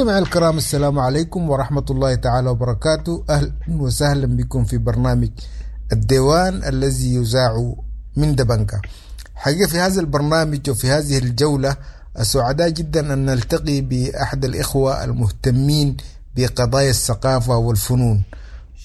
مستمعي الكرام، السلام عليكم ورحمة الله تعالى وبركاته. أهلا وسهلا بكم في برنامج الديوان الذي يذاع من دبنكا. حقيقة في هذا البرنامج وفي هذه الجولة سعداء جدا أن نلتقي بأحد الإخوة المهتمين بقضايا الثقافة والفنون،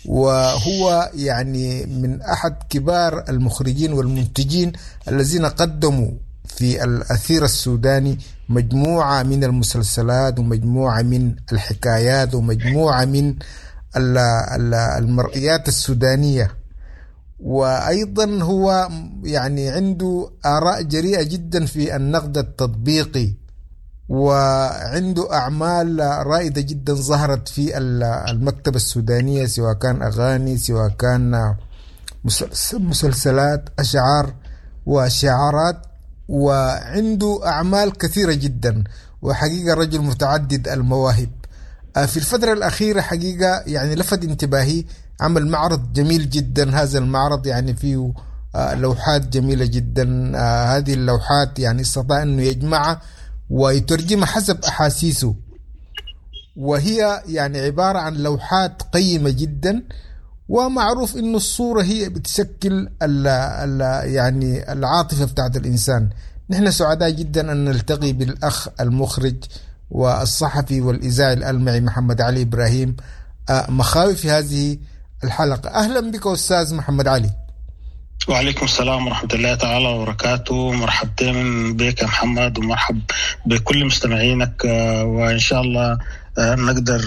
وهو يعني من أحد كبار المخرجين والمنتجين الذين قدموا في الأثير السوداني مجموعة من المسلسلات ومجموعة من الحكايات ومجموعة من المرئيات السودانية. وأيضا هو يعني عنده آراء جريئة جدا في النقد التطبيقي، وعنده أعمال رائدة جدا ظهرت في المكتبة السودانية، سواء كان أغاني، سواء كان مسلسلات، أشعار وشعارات، وعنده أعمال كثيرة جدا، وحقيقة رجل متعدد المواهب. في الفترة الأخيرة حقيقة يعني لفت انتباهي عمل معرض جميل جدا. هذا المعرض يعني فيه لوحات جميلة جدا. هذه اللوحات يعني استطاع أنه يجمعها ويترجمها حسب أحاسيسه، وهي يعني عبارة عن لوحات قيمة جدا. ومعروف أنه الصورة هي بتشكل ال ال يعني العاطفة بتاعت الإنسان. نحن سعداء جدا أن نلتقي بالأخ المخرج والصحفي والإذاعي الألمعي محمد علي إبراهيم مخاوي في هذه الحلقة. أهلا بك أستاذ محمد علي. وعليكم السلام ورحمة الله تعالى وبركاته. مرحبتين بك يا محمد، ومرحب بكل مستمعينك، وإن شاء الله نقدر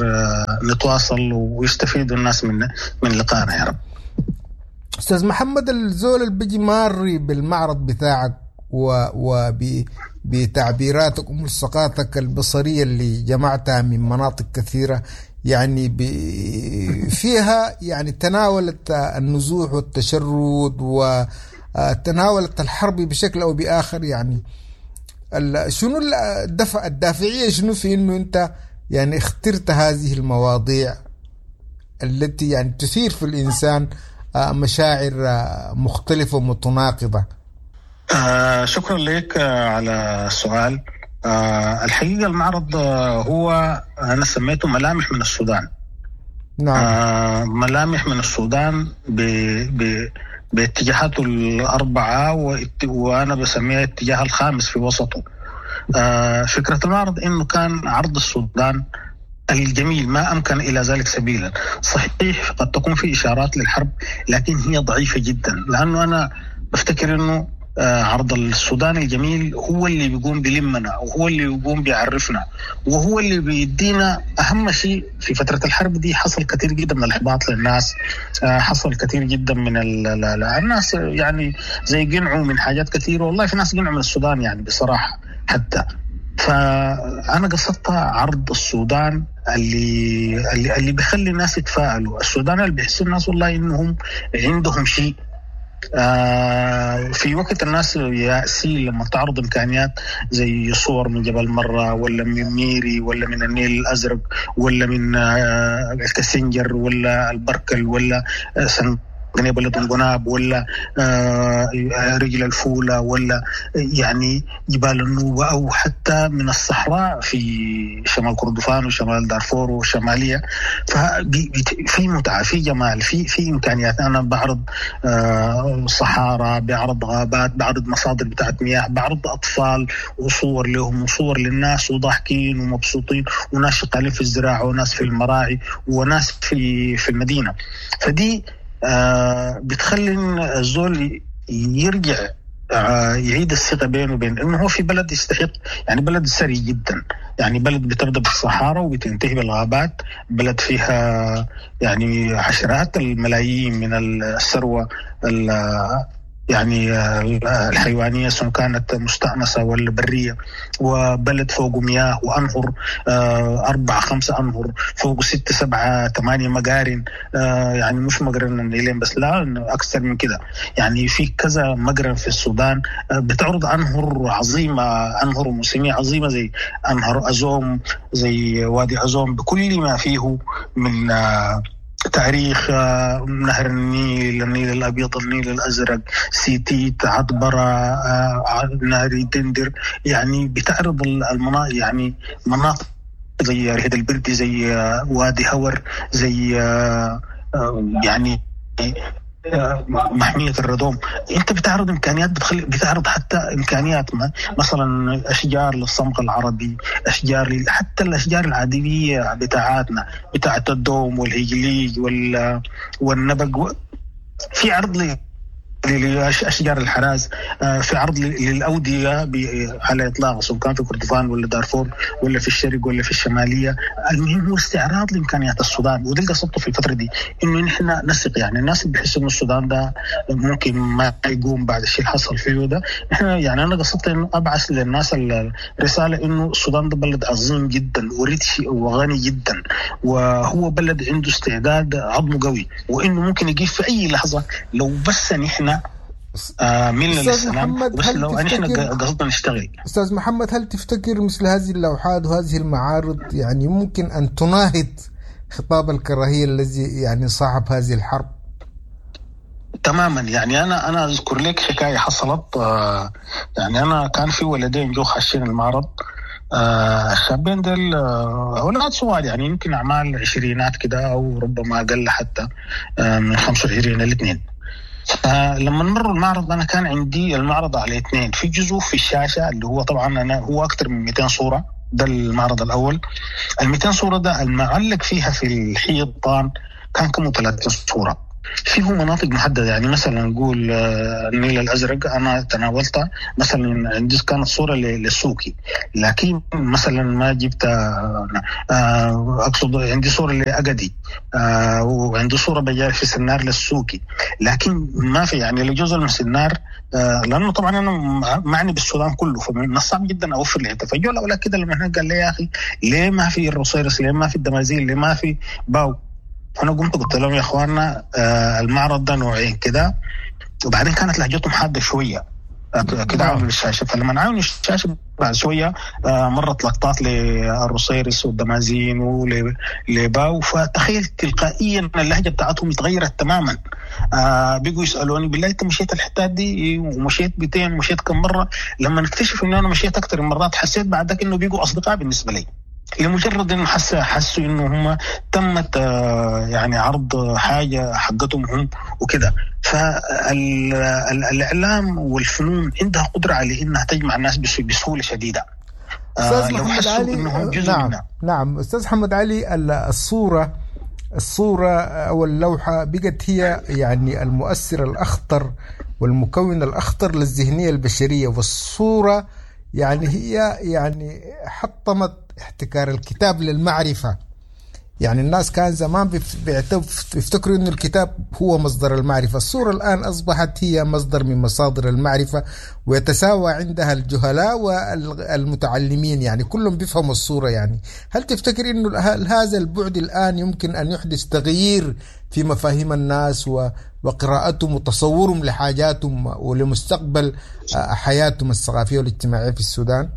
نتواصل ويستفيدوا الناس من لقائنا يا رب. أستاذ محمد، الزول اللي بيجي ماري بالمعرض بتاعك وبتعبيراتك وملصقاتك البصرية اللي جمعتها من مناطق كثيرة، يعني فيها يعني تناولت النزوح والتشرد وتناولت الحرب بشكل أو بآخر، يعني شنو الدافعية شنو في إنه أنت يعني اخترت هذه المواضيع التي يعني تثير في الإنسان مشاعر مختلفة ومتناقضة؟ شكرا لك على السؤال. الحقيقة المعرض هو أنا سميته ملامح من السودان. نعم. ملامح من السودان باتجاهاته الأربعة، وأنا بسميها الاتجاه الخامس في وسطه. فكرة المعرض إنه كان عرض السودان الجميل ما أمكن إلى ذلك سبيلا. صحيح قد تكون في إشارات للحرب، لكن هي ضعيفة جدا، لأنه أنا بفتكر إنه عرض السودان الجميل هو اللي بيقوم بلمنا، وهو اللي بيقوم بيعرفنا، وهو اللي بيدينا أهم شيء. في فترة الحرب دي حصل كثير جدا من الإحباط للناس، حصل كثير جدا من الناس يعني زي قنعوا من حاجات كثيرة. والله في ناس قنعوا من السودان يعني بصراحة حتى. فأنا قصدت عرض السودان اللي بيخلي الناس يتفائلوا، السودان اللي بيحسوا الناس والله إنهم عندهم شيء. في وقت الناس يأسين لما تعرض إمكانيات زي صور من جبل مرة، ولا من ميري، ولا من النيل الأزرق، ولا من الكسنجر، ولا البركل، ولا بلد القناب، ولا رجل الفولة، ولا يعني جبال النوبة، أو حتى من الصحراء في شمال كردفان وشمال دارفور وشمالية. ففي متعة، في جمال، في إمكانيات. أنا بعرض صحارى، بعرض غابات، بعرض مصادر بتاعت مياه، بعرض أطفال وصور لهم وصور للناس وضاحكين ومبسوطين، وناس شغالين في الزراعة، وناس في المراعي، وناس في المدينة. فدي بتخلي الزول يرجع يعيد الثقة بينه وبين إنه هو في بلد يستحق، يعني بلد ثري جدا، يعني بلد بتبدأ بالصحارى وبتنتهي بالغابات، بلد فيها يعني عشرات الملايين من الثروة يعني الحيوانية سواء كانت مستأنسة ولا برية، وبلد فوق مياه وأنهر، 4 5 أنهر، فوق 6 7 8 مقارن، يعني مش مقرن النيلين بس، لا أكثر من كده، يعني في كذا مقرن في السودان بتعرض أنهر عظيمة، أنهر موسمية عظيمة زي أنهر أزوم، زي وادي أزوم بكل ما فيه من تاريخ، نهر النيل، النيل الأبيض، النيل الأزرق، سيتيت، عطبرة، نهر دندر، يعني بتعرض المناطق يعني مناطق زي رهد البردي، زي وادي هور، زي يعني محمية الردوم. انت بتعرض امكانيات، بتعرض حتى امكانيات مثلا اشجار للصمغ العربي، اشجار حتى الاشجار العادية بتاعتنا بتاعت الدوم والهجليج والنبق. في عرض لأشجار الحراز، في عرض للأودية على إطلاق، سواء كان في كردفان ولا دارفور ولا في الشرق ولا في الشمالية. المهم هو استعراض لإمكانيات السودان، وده اللي قصدته في الفترة دي، إنه نحن نثق. يعني الناس اللي بيحسوا إنه السودان ده ممكن ما يقوم بعد الشيء اللي حصل فيه ده، نحن يعني أنا قصدت إنه أبعث للناس الرسالة إنه السودان ده بلد عظيم جدا وريتش وغني جدا، وهو بلد عنده استعداد عظمه قوي، وإنه ممكن يجيب في أي لحظة لو بس نحن ملنا للسلام، بس لو نحن قصدنا نشتغل. أستاذ محمد، هل تفتكر مثل هذه اللوحات وهذه المعارض يعني ممكن أن تناهض خطاب الكراهية الذي يعني صاحب هذه الحرب؟ تماما. يعني أنا أذكر لك حكاية حصلت. يعني أنا كان في ولدين جو خاشين المعرض، الشابين دول أولاد صغار، يعني يمكن أعمال عشرينات كده أو ربما أقل حتى، من 25 ل2. لما مروا المعرض أنا كان عندي المعرض على 2، في جزء في الشاشة اللي هو طبعا أنا هو أكثر من 200 صورة، ده المعرض الأول. ال 200 صورة ده المعلق فيها في الحيطان كان كم 30 صورة، فيه مناطق محددة. يعني مثلا نقول النيل الأزرق أنا تناولتها، مثلا عندي كانت صورة للسوكي، لكن مثلا ما جبت، أقصد عندي صورة لأجدي، وعندي صورة بجاري في سنار للسوكي، لكن ما في يعني لجزء من سنار، لأنه طبعا أنا معني بالسودان كله، فمن الصعب جدا أوفر لي. فجوا الأولاد كده لما هناك قال لي يا أخي ليه ما في الروصيرس، ليه ما في الدمازين، ليه ما في باو؟ أنا قمت قلت لهم يا إخواننا المعرض ده نوعين كده، وبعدين كانت لهجتهم حادة شوية كده عامل الشاشة. فلما عاونوا الشاشة بعد شوية مرت لقطات للروصيرس والدمازين ولباو، فتخيل تلقائيا اللهجة بتاعتهم اتغيرت تماما. بيجوا يسألوني بالله أنت مشيت الحتات دي ومشيت بتين ومشيت كم مرة؟ لما نكتشف إنه أنا مشيت أكثر من مرات حسيت بعد ذاك إنه بيجوا أصدقاء بالنسبة لي، لمجرد انه حسوا انه هم تمت يعني عرض حاجة حقتهم هم وكده. فالاعلام والفنون عندها قدره على انها تجمع الناس بسهولة شديدة. استاذ محمد علي، نعم منها. نعم استاذ محمد علي، الصورة او اللوحة بقت هي يعني المؤثر الاخطر والمكون الاخطر للذهنيه البشرية، والصورة يعني هي يعني حطمت احتكار الكتاب للمعرفة. يعني الناس كان زمان بيفتكروا إنه الكتاب هو مصدر المعرفة، الصورة الآن أصبحت هي مصدر من مصادر المعرفة، ويتساوى عندها الجهلاء والمتعلمين، يعني كلهم بيفهموا الصورة. يعني هل تفتكر إنه هذا البعد الآن يمكن أن يحدث تغيير في مفاهيم الناس وقراءتهم وتصورهم لحاجاتهم ولمستقبل حياتهم الثقافية والاجتماعية في السودان؟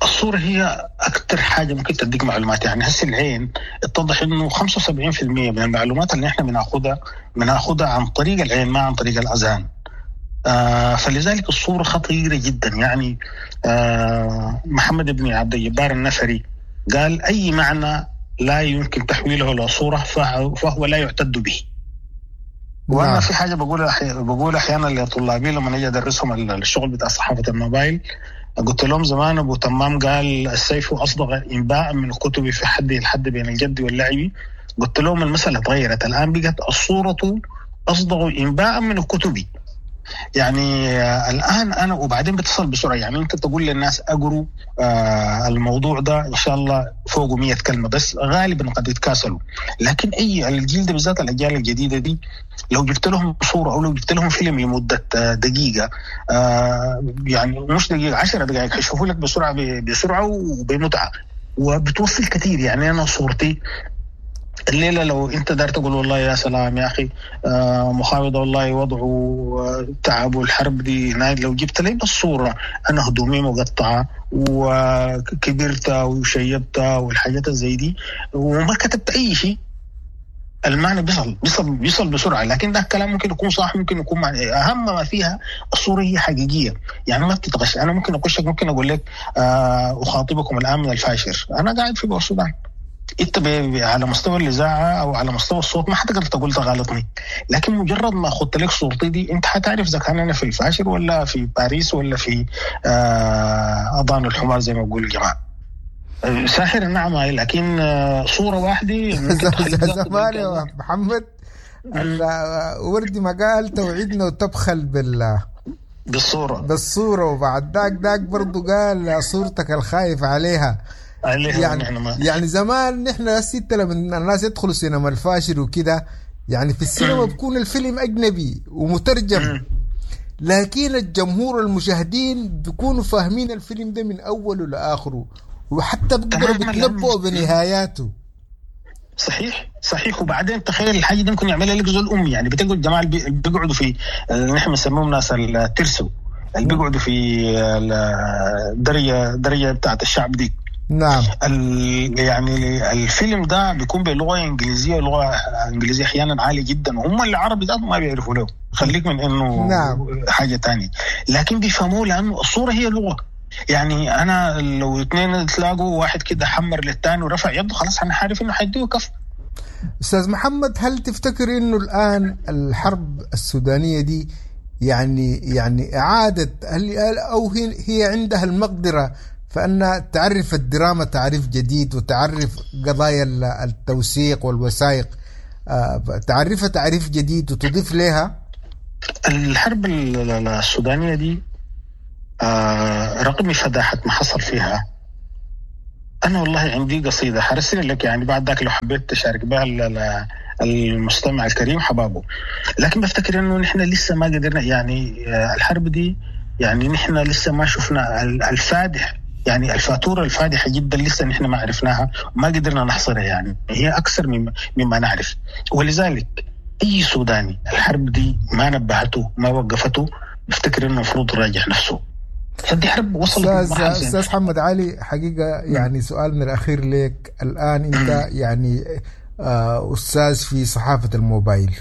الصورة هي أكثر حاجة ممكن تديك معلومات. يعني هسه العين اتضح إنه 75% من المعلومات اللي إحنا بناخدها عن طريق العين ما عن طريق الأذان. فلذلك الصورة خطيرة جدا. يعني محمد بن عبد الجبار النفري قال أي معنى لا يمكن تحويله إلى صورة فهو لا يعتد به. وأنا في حاجة بقول أحيانا لطلابي لما نجي أدرسهم الشغل بتاع صحافة الموبايل، قلت لهم زمان أبو تمام قال السيف أصدق إنباء من الكتب في حده الحد بين الجد واللعب. قلت لهم المسألة تغيرت الآن، بقت الصورة أصدق إنباء من الكتب. يعني الآن أنا وبعدين بتصل بسرعة، يعني أنت تقول للناس أقروا الموضوع ده إن شاء الله فوقه 100 كلمة بس، غالبا قد يتكاسلوا. لكن أي الجيل ده بالذات الأجيال الجديدة دي لو جبت لهم صورة أو لو جبت لهم فيلم لمدة دقيقة، يعني مش دقيقة، 10 دقائق، حيشوفوا لك بسرعة بسرعة وبمتعة وبتوصل كثير. يعني أنا صورتي الليلة لو أنت دار تقول والله يا سلام يا أخي مخاوضة والله وضعه تعب والحرب دي، لو جبت لي بالصورة أنا هدومي مقطعة وكبرت وشيبت والحاجات زي دي وما كتبت أي شيء، المعنى بيصل بيصل بيصل بسرعة، لكن ده الكلام ممكن يكون صح، ممكن يكون معنى. اهم ما فيها الصورة هي حقيقية، يعني ما بتتغش. انا ممكن اخشك، ممكن اقول لك اخاطبكم الان من الفاشر، انا قاعد في السودان، انت على مستوى الاذاعة او على مستوى الصوت ما حتقدر تقول تغالطني، لكن مجرد ما اخذت لك صورتي دي انت حتعرف اذا كان انا في الفاشر ولا في باريس ولا في اضان الحمار زي ما بقول الجماعة. ساحر نعم، لكن صوره واحدة. زمان يا محمد وردي ما قال توعدنا وتبخل بالصورة، وبعد ذاك برضه قال صورتك الخايف عليها. يعني زمان نحن الستة لما الناس يدخلوا سينما الفاشر وكده، يعني في السينما بيكون الفيلم أجنبي ومترجم، لكن الجمهور المشاهدين بيكونوا فاهمين الفيلم ده من أوله لآخره، وحتى بيقدروا بيتنبؤوا بنهاياته. صحيح صحيح. وبعدين تخيل الحاجة دي ممكن يعملها لك زول امي، يعني بتلقوا الجماعة اللي بيقعدوا في نحن بنسميهم ناس الترسو، اللي بيقعدوا في الدرجة بتاعت الشعب دي. نعم. يعني الفيلم ده بيكون بلغه انجليزية، لغة انجليزية احيانا عالية جدا، وهم العربي ده ما بيعرفوا له، خليك من انه نعم. حاجة تانية، لكن بيفهموه لانه الصورة هي لغة. يعني انا لو اثنين تلاقوا واحد كده حمر للثاني ورفع يده، خلاص انا عارف انه حيديه كف. استاذ محمد، هل تفتكر انه الان الحرب السودانية دي يعني اعاده، هل او هي عندها المقدرة فانها تعرف الدراما تعريف جديد، وتعرف قضايا التوثيق والوثائق تعرفها تعريف جديد وتضيف لها؟ الحرب السودانية دي رغم فداحة ما حصل فيها، أنا والله عندي قصيدة حرسل لك، يعني بعد ذاك لو حبيت تشارك بها المستمع الكريم حبابة. لكن بفتكر إنه نحن لسه ما قدرنا، يعني الحرب دي يعني نحن لسه ما شفنا الفادح، يعني الفاتورة الفادحة جدا لسه نحن ما عرفناها وما قدرنا نحصرها، يعني هي أكثر مما نعرف. ولذلك أي سوداني الحرب دي ما نبهته ما وقفته، بفتكر إنه المفروض يراجع نفسه. فدي حرب وصلت. أستاذ محمد علي، حقيقة يعني سؤالنا الأخير لك الآن، أنت يعني أستاذ في صحافة الموبايل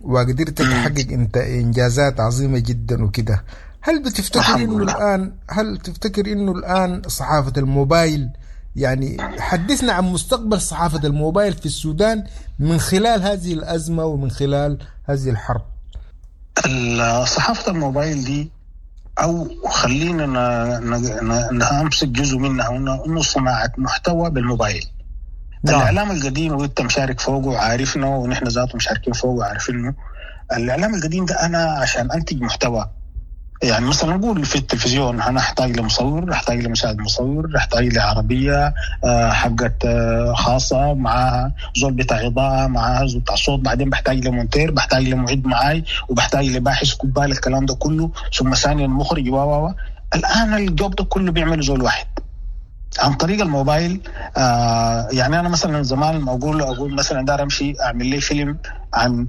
وقدرت تحقق أنت إنجازات عظيمة جدا وكده، هل بتفتكر إنه الآن، هل تفتكر إنه الآن صحافة الموبايل، يعني حدثنا عن مستقبل صحافة الموبايل في السودان من خلال هذه الأزمة ومن خلال هذه الحرب؟ صحافة الموبايل دي، أو خلينا نمسك جزء منها، إنه صناعة محتوى بالموبايل. نعم. الإعلام القديم وأنت مشارك فوقه وعارفنه، ونحن ذاته مشاركين فوقه وعارفينه. الإعلام القديم ده أنا عشان أنتج محتوى، يعني مثلا نقول في التلفزيون أنا أحتاج لمصور، أحتاج لمساعد مصور، أحتاج لعربية حقت خاصة معها زول بتاع إضاءة، معها زول بتاع صوت، بعدين بحتاج لمونتير، بحتاج لمعد معاي، وبحتاج لباحث كبال، الكلام ده كله، ثم ثانيا مخرج و الآن الجوب ده كله بيعمله زول واحد عن طريق الموبايل. يعني أنا مثلا زمان ما أقول مثلا دار أمشي أعمل لي فيلم عن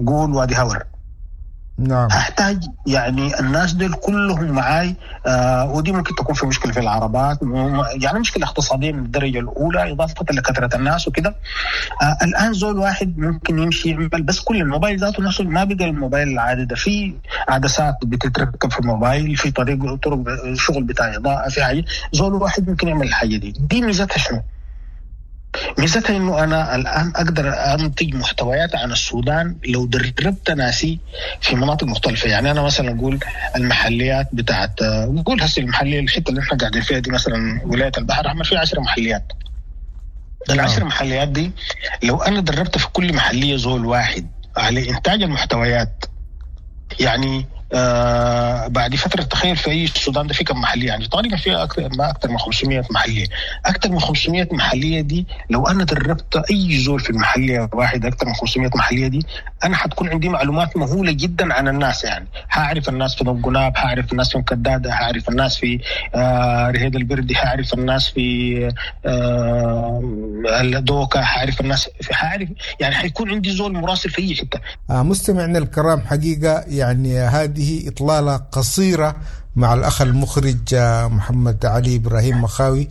قول وادي هور، نعم، هحتاج يعني الناس دول كلهم معاي، ودي ممكن تكون في مشكلة في العربات، يعني مشكلة اقتصادية من الدرجة الأولى إضافة لكثرة الناس وكده. الآن زول واحد ممكن يمشي يعمل بس كل الموبايل ذاته نفسه، ما بقى الموبايل العادي ده، في عدسات بتتركب في الموبايل، في طرق شغل بتاع إضاءة، في حاجة، زول واحد ممكن يعمل الحاجة دي. دي ميزتها شنو؟ ميزتها انه انا الان اقدر انتج محتويات عن السودان لو دربت ناسي في مناطق مختلفة. يعني انا مثلا اقول المحليات بتاعت، نقول هسه المحلية، الحتة اللي احنا قاعدين فيها دي مثلا ولاية البحر الاحمر فيها 10 محليات. ال10 محليات دي لو انا دربت في كل محليه زول واحد على انتاج المحتويات، يعني بعد فترة تخيل في أي السودان ده في كم محلية، يعني تقريبا فيها أكثر من 500 محلية. أكثر من 500 محلية دي لو أنا دربت أي زول في المحلية واحد أكثر من 500 محلية دي، أنا حتكون عندي معلومات مهولة جدا عن الناس. يعني هعرف الناس في دنقناب، هعرف الناس في مكدادة، هعرف الناس في رهيد البردي، هعرف الناس في الدوكة، هعرف الناس في، هعرف يعني حيكون عندي زول مراسل في أي حتة. مستمعنا الكرام، حقيقة يعني هذه إطلالة قصيرة مع الأخ المخرج محمد علي إبراهيم مخاوي،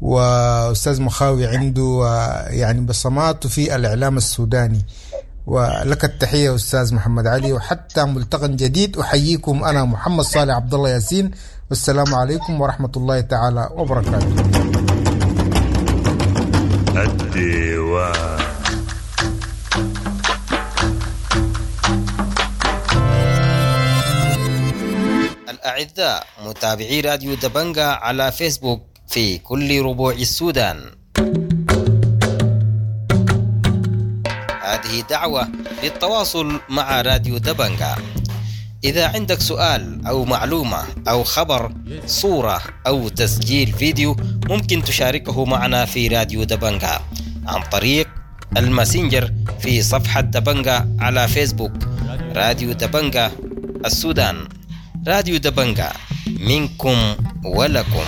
وأستاذ مخاوي عنده يعني بصماته في الإعلام السوداني. ولك التحية أستاذ محمد علي، وحتى ملتقى جديد أحييكم أنا محمد صالح عبد الله ياسين، والسلام عليكم ورحمة الله تعالى وبركاته. الديوان. الأعزاء متابعي راديو دبنجا على فيسبوك في كل ربوع السودان، هذه دعوة للتواصل مع راديو دبنجا. إذا عندك سؤال أو معلومة أو خبر، صورة أو تسجيل فيديو، ممكن تشاركه معنا في راديو دبنجا عن طريق الماسنجر في صفحة دبنجا على فيسبوك. راديو دبنجا السودان، راديو دبنجا منكم ولكم.